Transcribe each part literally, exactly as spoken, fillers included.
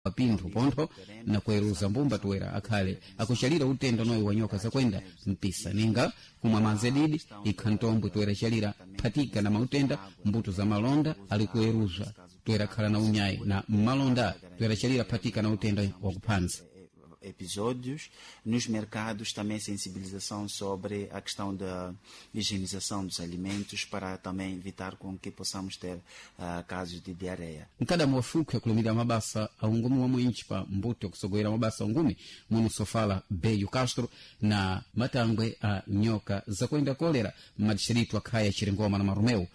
Pinthu pontho na kuweruza mbumba toera akhale akuchalira utenda unoyu wa nyoka zakwenda mpisa ninga kumwa madzi adidi ikha ntombwe toera chalira phatika na mautenda mbuto za malonda ali kuweruzwa toera khala na unyayi na mmalonda toera chalira phatika na utenda wakuphanza. Episódios nos mercados, também sensibilização sobre a questão da higienização dos alimentos para também evitar com que possamos ter uh, casos de diarreia. Mkadamu wafuke akulimira mabasa a ungumi wa mwinchi pa mbuto kusogolera mabasa ungumi muno sofala Beyu Castro na matangwe a nyoka zakwenda kolera m'madixiritu akhaya Chiringoma na Marumeu.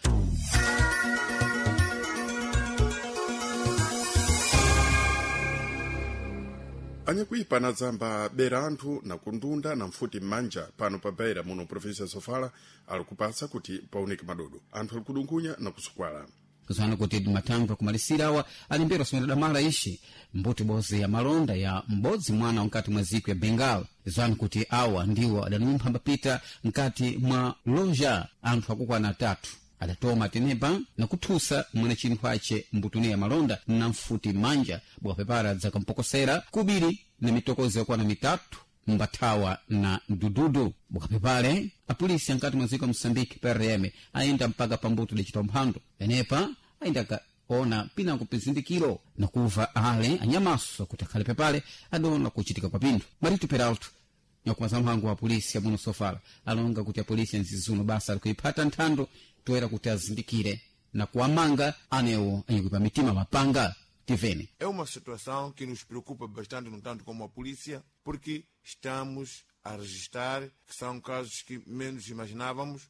Anyakuipa anadzamba bera anthu na kundunda na mfuti m'manja pano pa Beira muno província Sofala ali kupatsa kuti paoneke madodo anthu ali kudungunya na kusukwala. Kuzana kuti matangwe akumalisira awa alimbera somera damala ixi mbuti bozi ya malonda ya m'bodzi mwana mkati mwa ziko ya Bengal zanu kuti awa ndiwo adanumpha mbapita mkati mwa loja anthu akukwana atatu adatoma tenepa na kuthusa mwana chinthu ace mbutune ya malonda na mfuti manja bwapepara dzakampokosera kubiri na mitokozo yakwana mitatu mbathawa na dududu bwakapepale apolisi ankati mwa dziko Moçambique P R M ayenda mpaka pambuto dacita mphando penepa ayenda ona pinango pizindikiro na kuva ale anyamaso kuti akhale pepale adona kuchitika kwa pinthu. Marito Peralto nyakumaza mphango wa polisi amuno Sofala alonga kuti apolisi anzizuno basa alikuiphata nthando toera kuti azindikire na kuwamanga anewo anyakuipa mitima mapanga tivene. É uma situação que nos preocupa bastante, no tanto como a polícia, porque estamos a registrar que são casos que menos imaginávamos,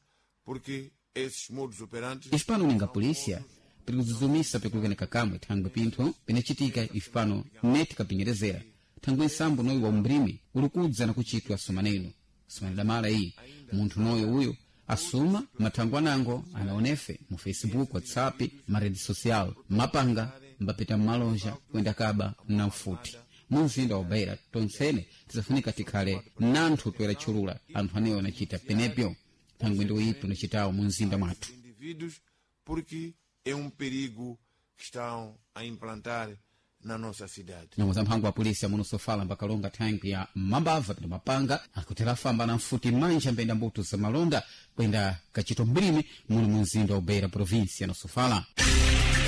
porque esses modus operandi. Ifipano ninga polícia pirikuzuzumisa pikulukeneka kamwe thangwe pinthu pinacitika ifipano neti kapinyerezeera thangwe nsambo noyu wa umbrimi ulikudza na kuchitwa sumaneno sumane damala iyi munthu noyo uyu asuma mathangwe anango anaonefe mu Facebook, WhatsApp, marede social mapanga mbapita mmalonja kuyenda kaba na mfuti mu mzinda wa Beira tonsene tizafunika tikhale nanthu toera tchulula anthu anewo anachita penepyo thangwe ndi uyipi unachitawo mu mzinda mwathu. Indivíduos, porque é um perigo que estão a implantar na nossa cidade. Nyamuza mphango wa polisi amuno Sofala mbakalonga thangwi ya mambava pita mapanga akutera famba na mfuti manja mbenda mbuto za malonda kwenda kachito mbilimi muno mu mzinda wa Beira província na Sofala.